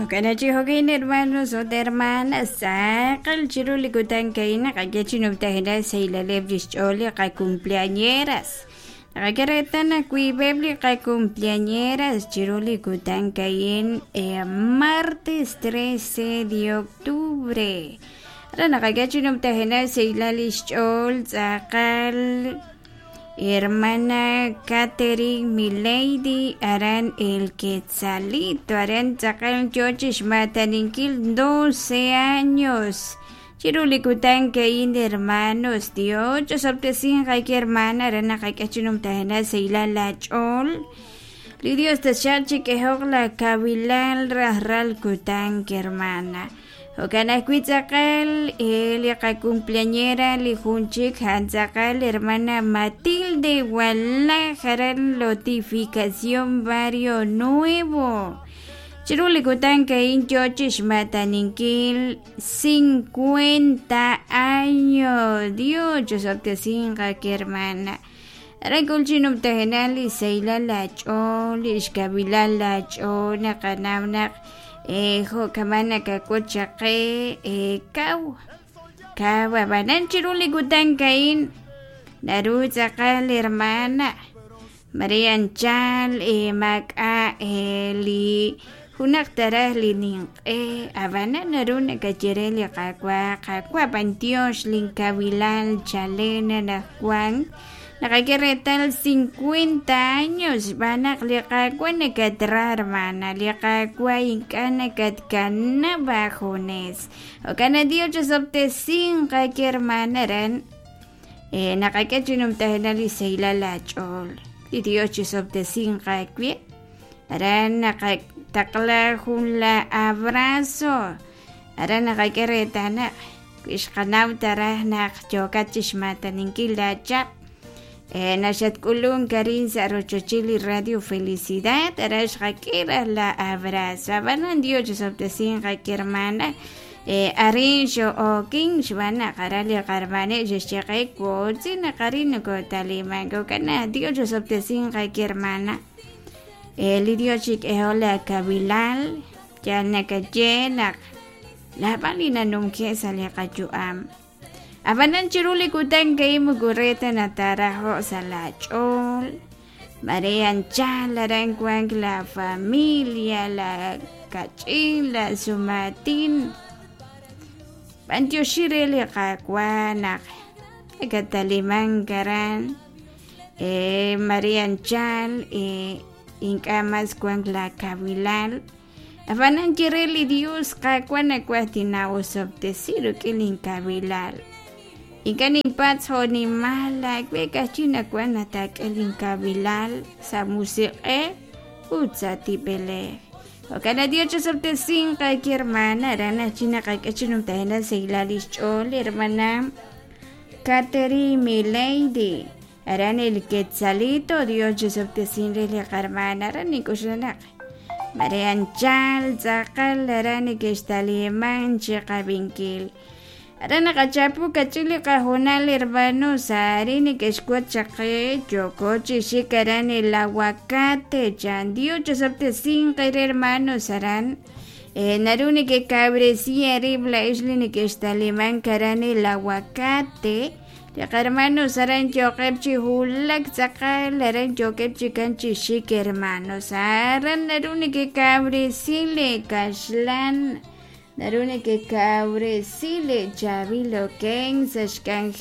Jo'kan chi jo'kan, hermanos ut hermanas, tz'aqal chiru li kutan a'in naqak'e chi numtajenaq sahilaleb' lix ch'ool li qacumpleañeras. Naqak'e reetal naq wiib'eb' li qacumpleañeras chiru li kutan a'in, martes 13 de octubre. Aran naqak'e chi numtajenaq sahilal lix ch'ool tz'aqal hermana Catherine Milady aran El Quetzalito, aran tz'aqal yoo chixmataninkil 12 años. Chiru li kutan a'in, hermanos, Dios ch'osob'tesinq ayke hermana, aran naqak'e chi numtajenaq sahilal la ch'ool. Li Dios taxaq chik'ehoq la kawilal rajlal kutan, hermana. Jo'kan ajwi' tz'aqal li qacumpleañera li jun chik a'an tz'aqal hermana Matilde Walaj aran Lotificación Barrio Nuevo. Chiru li kutan a'in yoo chixmataninkil 50 años. Dios ch'osob'tesinq ayke hermana. Aran k'ul chi numtajenaq li sahilal la ch'ool, li xkawilal la ch'ool, naqanaw naq jo' kama' nakak'ut chaq qe kaw kaw ab'anan chiru li kutan a'in naru tz'aqal hermana Maria anchal maak'a' li junaq taraj li ninq'e ab'anan naru nakaye re li Qaawa', Qaawa' b'antiox linkawilal chalen anaqwan naqak'e reetal 50 años xb'aan naq li Qaawa' nakatra hermana, li Qaawa' ink'a' nakatkanab' aajunes. Jo'kan naq Dios ch'osob'tesinq ayke hermana aran naqak'e chi numtajenaq li sahilal aach'ool. Li Dios chisob'tesinq aawe. Aran naqataqla jun la abrazo. Aran naqak'e reetal naq wi xqanaw taraj naq yookat chixmataninkil laachaq naxatk'ulunk arin sa' rochochil li Radio Felicidad, aran xqak'e raj la abrazo. Ab'anan Dios chisob'tesinq ayke hermana. Arin xo'okin xb'aan naq aran li qarmaneb' xe'xye qe wotzi naq arin nokotaliman. Jo'kan naq Dios chisob'tesinq ayke hermana. Li Dios chik'ehoq la kawilal yal nakaye naq naab'al li nanumke' sa' li qayu'am. Ab'anan chiru li kutan a'in moko re ta natarajo' sa' la ch'ool. Mare anchal aran wank la familia, la kach'in, la sumatin. B'antioxi re li Qaawa' naq nakatalimank aran. Mare anchal ink'a' mas wank la kawilal. Ab'anan ye re li Dios, Qaawa' nawaj tinawosob'tesi rik'in linkawilal. Ink'a' ninpatz' jo'nimal aawe ka'ajwi' nawaj nataak'e linkawilal sa' musiq'ej ut sa' tib'elej. Jo'kan naq Dios chisob'tesinq ayke hermana, aran ajwi' naqak'e chi numtajenaq sahilal lix ch'ool hermana Catherine Milady. Aran El Quetzalito, Dios chisob'tesin re li qarmana, aran nink'oxla naq mare anchal tz'aqal aran neke'xtaliman chiqab'inkil. Aran naqachapu kach'in li qajunal hermanos arin neke'xwotz chaq qe yooko chi xik aran El Aguacate chan. Dios chisob'tesinq re hermanos aran naru nekekawresi eerib' la'ex li neke'xtalimank aran El Aguacate. Li qarmanos aran yooqeb' chi wulak tz'aqal aran yookeb' chikan chi xik hermanos aran naru nekekawresi lee kaxlan, naru nekekawresi lee chaab'il okenk sa' xk'anjel.